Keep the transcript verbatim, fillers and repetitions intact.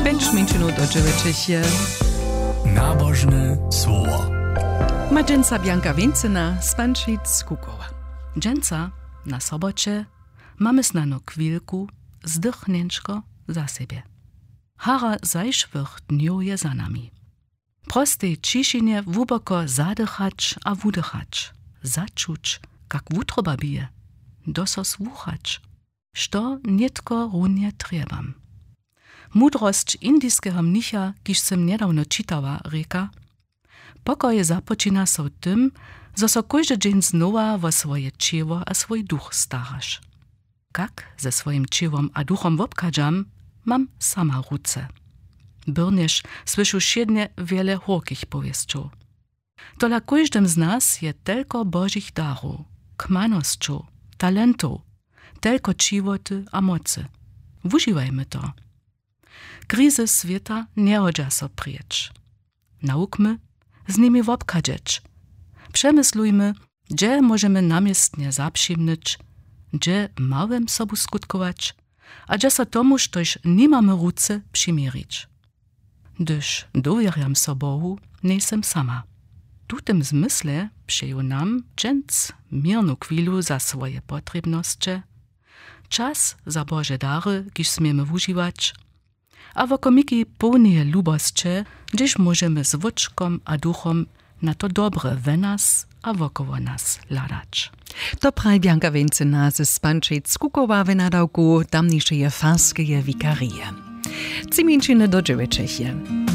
Pjenč mjeńšinow do dźewjećich je. Nabožne słowo. Ma dźensa Bjanka Wěncyna z Pančic Kukowa. Dźensa na soboće mamy snano chwilku, zdychnjenčko za sebje. Hara zašłych dnjow je za nami. W prostej ćišinje hłuboko zadychać a wudychać, začuć, kak wutroba bije, do so słuchać, što nětko runje trjebam. Mudrosć indiskeho mnicha, kiž sym njedawno čitała, rěka: Pokoj započina so w tym, zo so kóždy dźeń znowa wo swoje ćěło a swój duch staraš. Kak ze swojim ćěłom a duchom wobchadźam, mam sama w ruce. Byrnjež słyšu wšědnje wjele hórkich powěsćow. Tola kóždym z nas je telko božich darow, kmanosćow, talentow, telko ćiwoty a mocy. Wužiwajmy to. Krizy swěta njehodźa so prěč. Nawukmy z nimi wobchadźeć. Přemyslujmy, hdźe móžemy naměstnje zapřimnyć, hdźe małym sobu skutkować, a hdźe so tomu, štož nimamy w ruce, přiměrić. Hdyž dowěrjam so Bohu, njejsym sama. W tutym zmysle přeju nam dźens měrnu chwilu za swoje potrěbnosće, čas za Bože dary, kiž směmy wužiwać, a wokomiki połneje lubosće, hdźež móžemy z wóčkom a duchom na to dobre we nas a wokoło nas hladać. To praji Bjanka Wěncyna z Pančic Kukowa w nadawku tamnišeje farskeje wikarije. Tři mjeńšiny do dźewjećich je.